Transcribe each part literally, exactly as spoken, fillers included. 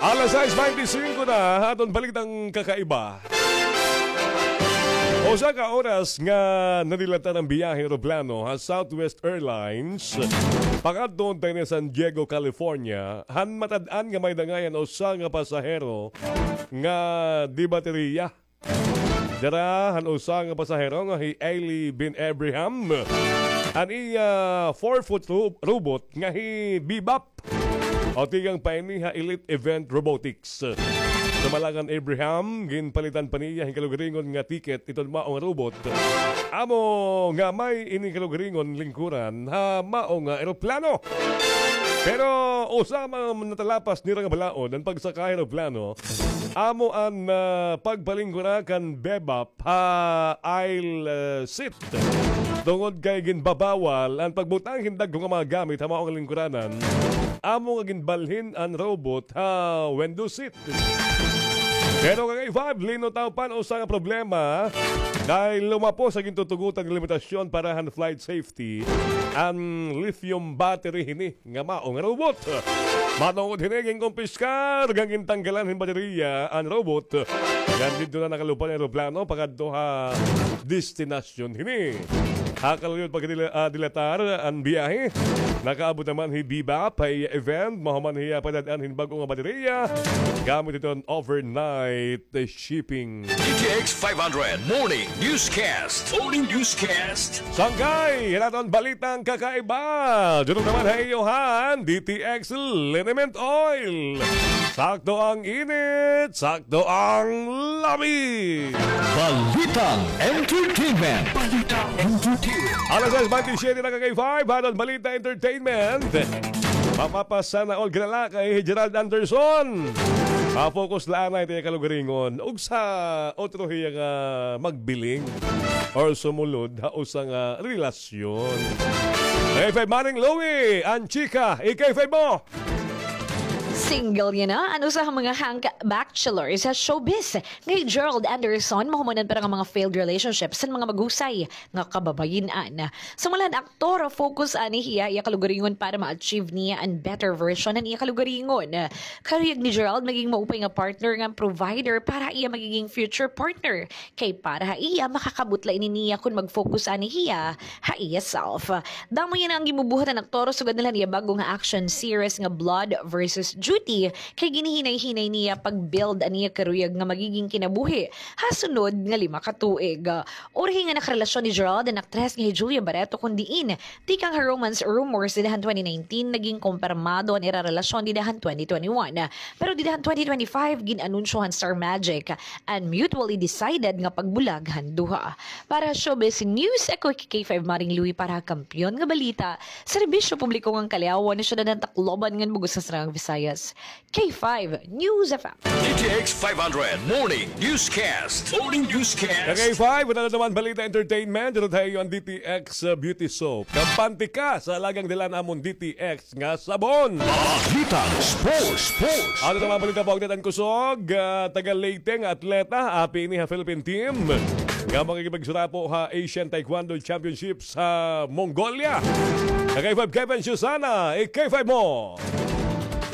Alas sais baynte singko na, aton balitang kakaiba. Usa ka oras nga nadilatar an biyahe nga eroplano ha Southwest Airlines pakadto unta hini San Diego, California, han matad-an nga may dangayan usa nga pasahero nga di-bateriya. Dara han usa nga pasahero nga hi Ailey Bin Abraham, an iya four-foot ro-, robot nga hi Bebop, o tikang pa ini ha Elite Event Robotics. Sumala kan Abraham, ginpalitan pa niya hin kalugaringon nga ticket iton mao nga robot. Amo nga may ini kalugaringon lingkuran ha mao nga eroplano. Pero usa man natalapas nira nga balaod an pagsaka ha eroplano, amo an, ah, pagpalingkura kan Bebop ha aisle, ah, seat. Tungod kay ginbabawal an pagbutang hin dagko nga mga gamit ha mao nga lingkuranan, amo nga ginbalhin an robot ha window seat. Pero kay five, linutaw pa an usa nga problema, kay lumapos sa gintutugotan nga limitasyon para han flight safety an lithium battery hini nga mao nga robot. Matungod hini, ginkumpiskar ngan gintanggalan hin bateriya an robot. Ngan didto na nakalupad an eroplano pakadto ha destinasyon hini. Ha kaluyod pagkadila-, ah, dilatar an biyahe, nakaabot naman hi Bebop ha iya event, mahuman hiya padad-an hin bag-o nga bateriya gamit iton overnight shipping. D T X five hundred Morning Newscast. Morning Newscast. Sangkay han aton balitang kakaiba, didto naman ha iyo han D T X Liniment Oil. Sakto ang init, sakto ang lami. Balitang Entertainment. Balitang Entertainment. Alas sais baynte siyete na, ka K five, ha aton Balita Entertainment. Mapapasana all ka lalaki hi Gerald Anderson. Ma-focus la anay it iya kalugaringon ug sa otro hiya nga magbiling or sumulod ha usa nga relasyon. K five, Maring Louie, an chika, i-K five mo. Single yana an usa ha mga hangka bachelor sa showbiz nga hi Gerald Anderson, mahuman an pira nga mga failed relationships han mga mahusay nga kababayin-an. Sumala han aktor, focus anay hiya ha iya kalugaringon para ma-achieve niya an better version han iya kalugaringon. Karuyag ni Gerald maging maupay nga partner ngan provider para ha iya magiging future partner. Kay para ha iya, makakab-ot la ini niya kon mag-focus anay hiya ha iya self. Damo yana an ginbubuhat han aktor sugad na la han iya bag-o nga action series nga Blood versus Duty, kay ginhihinay-hinay niya pag-build an iya karuyag nga magiging kinabuhi ha sunod nga lima ka tuig. Urhi nga nakarelasyon ni Gerald an aktres nga hi Julia Barreto, kon diin tikang ha romance rumors dida han twenty nineteen, naging kumpirmado an ira relasyon dida han twenty twenty-one. Pero dida han twenty twenty-five, gin-anunsyo han Star Magic an mutually decided nga pagbulag han duha. Para ha showbiz news, ako hi K five Maring Louie para ha Kampeon nga Balita, Serbisyo Publiko ngan Kaliawan, ha syudad han Tacloban ngan bug-os nga Saraang Visayas. K five News F M. D T X five hundred Morning Newscast. Morning Newscast. Ka K five, ano naman balita entertainment? Didto ha iyo an D T X, uh, Beauty Soap. Kampante ka sa alagang dala namon D T X nga sabon. Balitang sports, sports. Ano naman balita, paugdat an kusog, ah, taga Leyte nga atleta, api ini ha Philippine team nga makikipagsurapo ha Asian Taekwondo Championships ha Mongolia. Ka K five, Kevin Susana, i-K five mo.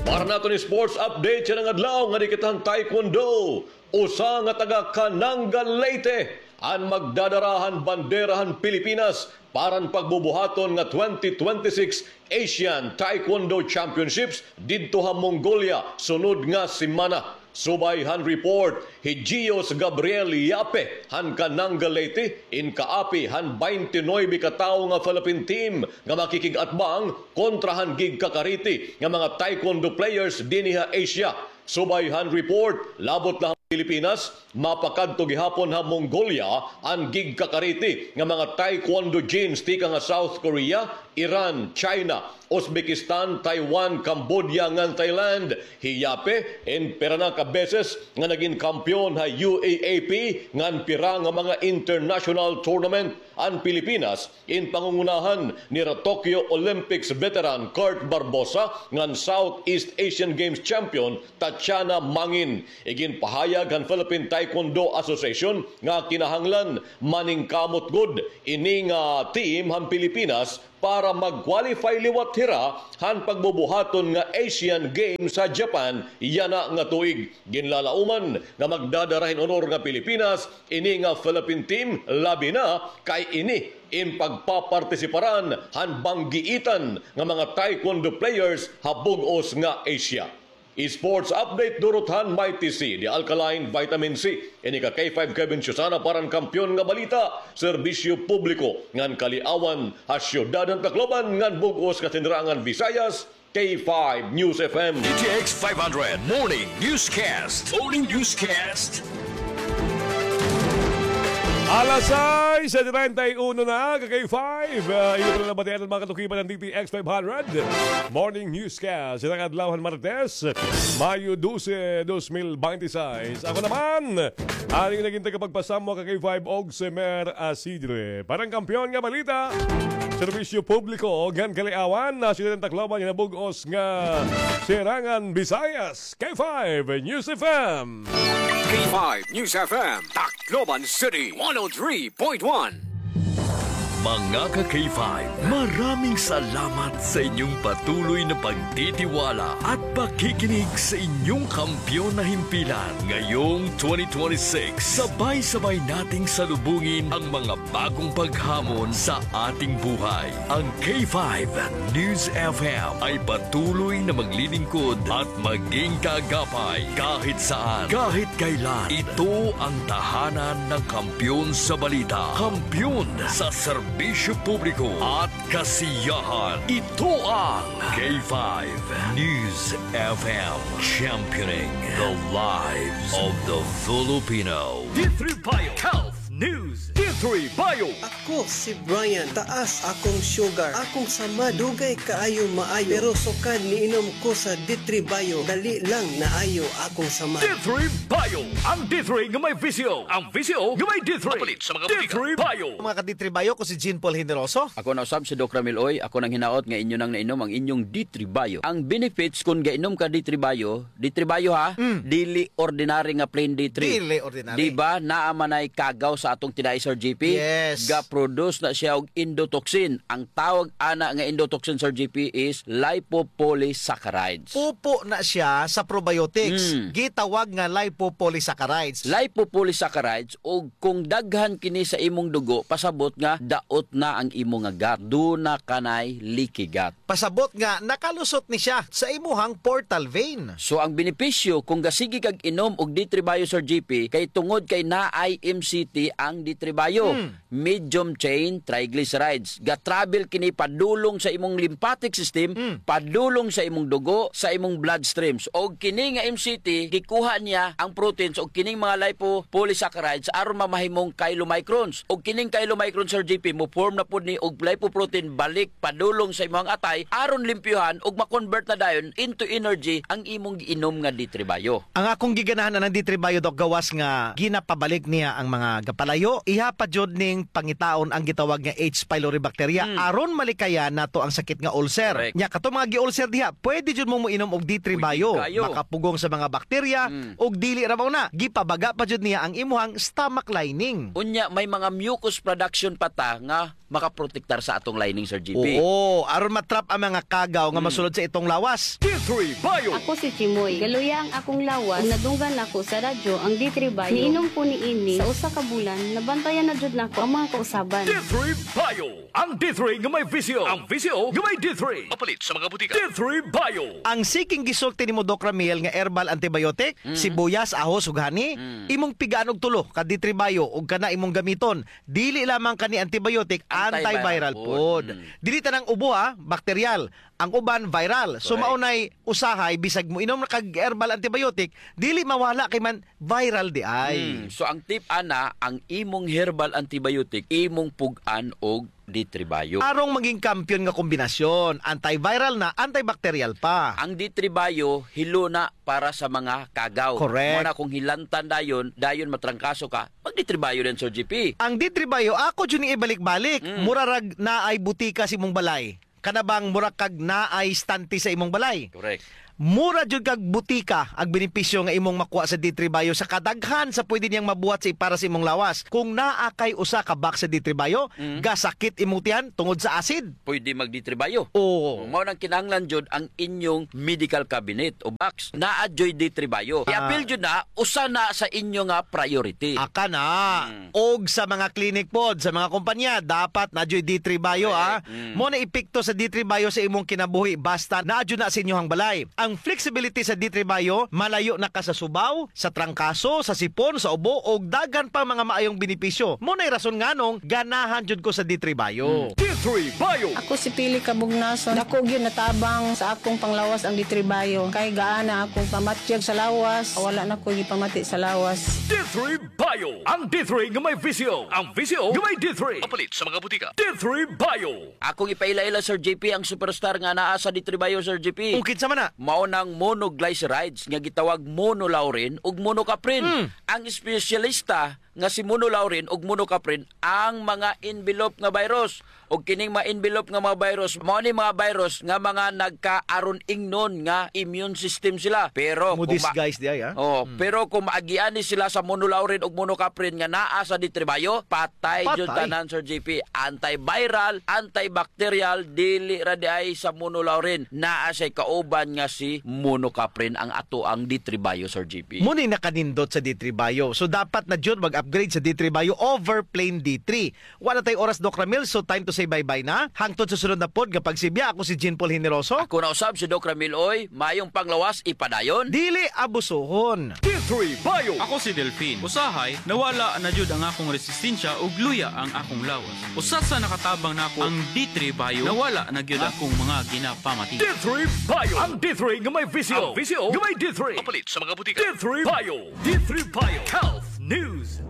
Para naton sports update yana nga adlaw, ngadi kita han taekwondo. Usa nga taga Cananga, Leyte an magdadara han bandera han Pilipinas para han pagbubuhaton nga twenty twenty-six Asian Taekwondo Championships didto ha Mongolia sunod nga semana. Subay han report, hi Gios Gabriel Yape han Cananga, Leyte, in kaapi han baynte nuwebe ka tawo nga Philippine team nga makikig-atbang kontra han gigkakariti nga mga taekwondo players dinhi ha Asia. Subay han report, labot la han Pilipinas, mapakadto gihapon ha Mongolia an gigkakariti nga mga taekwondo jins tikang ha South Korea, Iran, China, Uzbekistan, Taiwan, Cambodia, ngan Thailand. Hi Yape, in pira na ka beses nga nagin kampeon ha U A A P ngan pira nga mga international tournament an Pilipinas, in pangungunahan nira Tokyo Olympics veteran Kurt Barbosa ngan Southeast Asian Games champion Tatiana Mangin. Iginpahayag kan Philippine Taekwondo Association nga kinahanglan maningkamot gud ini nga team han Pilipinas para mag-qualify liwat hira han pagbubuhaton nga Asian Games sa Japan yana nga tuig. Ginlalauman nga magdadara hin honor nga Pilipinas ini nga Philippine team, labi na kay ini in pagpapartisiparan han banggiitan nga mga taekwondo players ha bug-os nga Asia. Sports update durot han Mighty C, the alkaline vitamin C. Ini ka K five Kevin Susana para han Kampiyon nga Balita, serbisyo publiko ngan kaliawan ha siyudad han Tacloban ngan bug-os nga Sinirangan Visayas, K five News F M. D T X five hundred Morning Newscast. Morning Newscast. Alas sais treinta y uno na, ka K five. Ah, iyo pala nabatian an mga katukipan ng D T X five hundred Morning Newscast. Sa adlaw han Martes, Mayo dose, dos mil bente seis. Ako naman, an iyo naging tagapagpasamok, ka K five, Og Semer Asidre. Para han Kampiyon nga Balita, serbisyo publiko ngan kaliawan ha siyudad han Tacloban, yana bug-os nga Sinirangan Visayas, K five News F M. K five News F M, Tacloban City, one oh three point one. Mga ka K five, maraming salamat sa inyong patuloy na pagtitiwala at pakikinig sa inyong kampiyon na himpilan. Ngayong twenty twenty-six, sabay-sabay nating salubungin ang mga bagong paghamon sa ating buhay. Ang K five News F M ay patuloy na maglilingkod at maging kaagapay kahit saan, kahit kailan. Ito ang tahanan ng kampiyon sa balita, kampiyon sa serbisyo publiko at kasiyahan. Ito ang K five News F M, championing the lives of the Filipino. D three Bio Health News. D three Bio. Ako si Brian, taas akong sugar. Akong samad, dugay kaayo maayo. Pero sukad niinom ko sa D three Bio, dali lang naayo akong samad. D three Bio. Ang D three nga may V C O. Ang V C O nga may D three. Mapalit sa mga botika. D three Bio. Mga ka D three Bio, ko si Jean Paul Generoso. Ako na usab si Doc Ramil Oy. Ako nang hinaot nga inyo nang nainom ang inyong D three Bio. Ang benefits kon gainom ka D three Bio, D three Bio ha, Mm. dili ordinary nga plain D three. Dili ordinary. Di ba, naa man ay kagaw sa atong tinai, Sir G P? Yes. Ga-produce na siya og endotoxin. Ang tawag ana nga endotoxin, Sir G P, is lipopolysaccharides. Pupo na siya sa probiotics. Mm. Gitawag nga lipopolysaccharides. Lipopolysaccharides, ug kung daghan kini sa imong dugo, pasabot nga daot na ang imo nga gut. Duna kanay leaky gut. Pasabot nga nakalusot ni siya sa imuhang portal vein. So, ang benepisyo, kung gasigi kag inom og D three Bio, Sir G P, kay tungod kay naay M C T ang D three Bio. Hmm. Medium chain triglycerides. Ga-travel kini padulong sa imong lymphatic system, Hmm. padulong sa imong dugo, sa imong bloodstreams. Og kini nga M C T, gikuha niya ang proteins og kining mga lipopolysaccharides aron mamahimong chylomicrons. Og kining chylomicron, Sir G P, mo-form na pud ni og lipoprotein balik padulong sa imong atay aron limpyuhan ug ma-convert na dayon into energy ang imong giinom nga D three Bio. Ang akong giganahan anang D three Bio, Doc, gawas nga ginapabalik niya ang mga gapalayo, iha pa jud ning pangitaon ang gitawag nga H. pylori bacteria, Mm. aron malikayan nato ang sakit nga ulcer. Correct. Nya, kato mga gi-ulcer diha, pwede jud mo moinom og D three Pwede Bio. Kayo. Makapugong sa mga bakterya, Mm. ug dili ra mao na, gipabaga pa jud niya ang imuhang stomach lining. Unya, may mga mucus production pa ta nga makaprotektar sa atong lining, Sir G P. Oo, aron matrap ang mga kagaw nga Hmm. masulod sa itong lawas. D three Bio. Ako si Chimoy. Galuya ang akong lawas. Ug nadunggan ako sa radyo ang D three Bio. Niinom ko niini sa usa ka bulan, nabantayan na jud nako ang mga kausaban. D three Bio. Ang D three nga may V C O. Ang V C O nga may D three. Mapalit sa mga butika. D three Bio. Ang sige nga gisulti nimo, Doc Ramil, nga herbal antibiotic, Mm. sibuyas, ahos, ug honey, Mm. imong pigaan og tulo ka D three Bio ug kana imong gamiton. Dili lamang kani antibiotic, antiviral Antiviral pod. pod. Mm. Dili tanang ubo, ha, bakteryal. Ang uban, viral. So, Correct. mao nay usahay, bisag moinom na kag herbal antibiotic, dili mawala kay man viral di ay. Mm. So, ang tip ana, ang imong herbal antibiotic, imong pug-an og D three Bio. Arong maging kampiyon nga kombinasyon, antiviral na, antibacterial pa. Ang D three Bio, hilo na para sa mga kagaw. Correct. Mao na kung hilantan dayon, dayon matrangkaso ka, mag-D three Bio din, Sir G P. Ang D three Bio, ako jud ni ibalik-balik. Mm. Mura rag naay butika sa imong balay. Kana bang mura kag naay stante sa imong balay? Correct. Mura jud kag butika ang benepisyo nga imong makuha sa D three Bio sa kadaghan sa pwede niyang mabuhat sa para sa imong lawas. Kung naa kay usa ka box sa D three Bio, Mm. gasakit imong tiyan tungod sa acid. Pwede mag D three Bio. Oo. Mao nang kinahanglan jud ang inyong medical cabinet o box. Naa juy D three Bio. Ah. I-apil jud na, usa na sa inyo nga priority. Aka na. Mm. Og sa mga clinic pod, sa mga kompanya, dapat na juy D three Bio, Correct. ah. Mm. Mo na epekto sa D three Bio sa imong kinabuhi, basta na jud na sa inyohang balay. Ang flexibility sa D three Bio, malayo na ka sa subaw, sa trangkaso, sa sipon, sa ubo, og daghan pa mga maayong benepisyo. Mo na'y rason nganong ganahan jud ko sa D three Bio. Hmm. D three Bio. Ako si Pili Kabugnason. Dako gyud natabang sa akong panglawas ang D three Bio. Kay gaana akong pamatyag sa lawas, wala na ko gipamati sa lawas. D three Bio. Ang D three nga may visyo. Ang visyo nga may D three. Mapalit sa mga butika. D three Bio. Akong ipaila-ila, Sir J P, ang superstar nga naa sa D three Bio, Sir J P. O, kinsa man na? Mao nang monoglycerides nga gitawag monolaurin ug monocaprin. Hmm. Ang espesyalista nga si monolaurin ug monocaprin ang mga envelope nga virus. Ug kining mga envelope nga mga virus, mao ni mga virus nga mga nagkaaron ingnon nga immune system sila. Pero kung ma- Mo-disguise di ay, ah? Oh, Hmm. pero kung maagian ni sila sa monolaurin ug monocaprin nga naa sa D three Bio, patay jud Patay. tanan, Sir J P. Antiviral, antibacterial, dili ra di ay sa monolaurin. Naa siya'y kauban nga si monocaprin ang atoang D three Bio, Sir J P. Mo ni nakanindot sa D three Bio. So, dapat na jud mag-upgrade sa D three Bio over plain D three. Wala tay oras, Doc Ramil, so time to say bye-bye na. Hangtod sa sunod na pod nga pagsibya, ako si Jean Paul Generoso. Ako na usab si Doc Ramil, oy. Mayong panglawas, ipadayon. Dili abusuhon. D three Bio. Ako si Delfin. Usahay, nawala na jud ang akong resistensya ug luya ang akong lawas. Usa sa nakatabang nako ang D three Bio, nawala na gyud akong mga ginapamati. D three Bio. Ang D three nga may visyo. Ang visyo nga may D three. Mapalit sa mga butika. D three Bio. D three Bio Health News.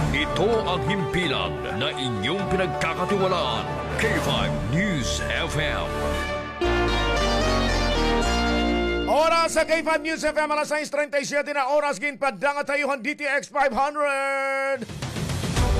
Ito ang himpilan na inyong pinagkakatiwalaan, K five News F M. Oras sa K five News F M, alas sais treinta y siete na oras, ginpadala ha iyo han D T X five hundred.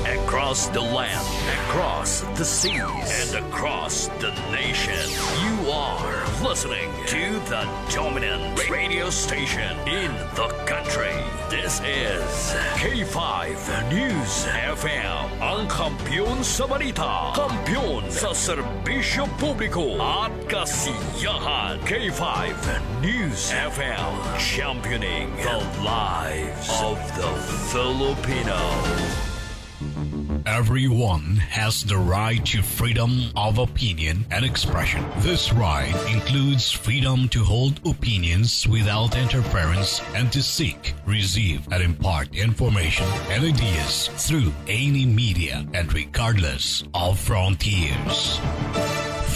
Across the land, across the seas, and across the nation, you are listening to the dominant radio station in the country. This is K five News F M, ang kampiyon sa balita, kampiyon sa serbisyo publiko at kasiyahan. K five News F M, championing the lives of the Filipino. Everyone has the right to freedom of opinion and expression. This right includes freedom to hold opinions without interference and to seek, receive, and impart information and ideas through any media and regardless of frontiers.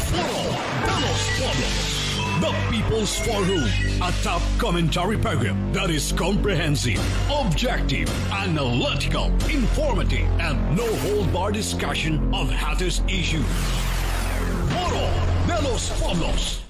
Foro de los Pueblos, the People's Forum, a top commentary program that is comprehensive, objective, analytical, informative, and no-hold-bar discussion of hottest issues. Foro de los Pueblos.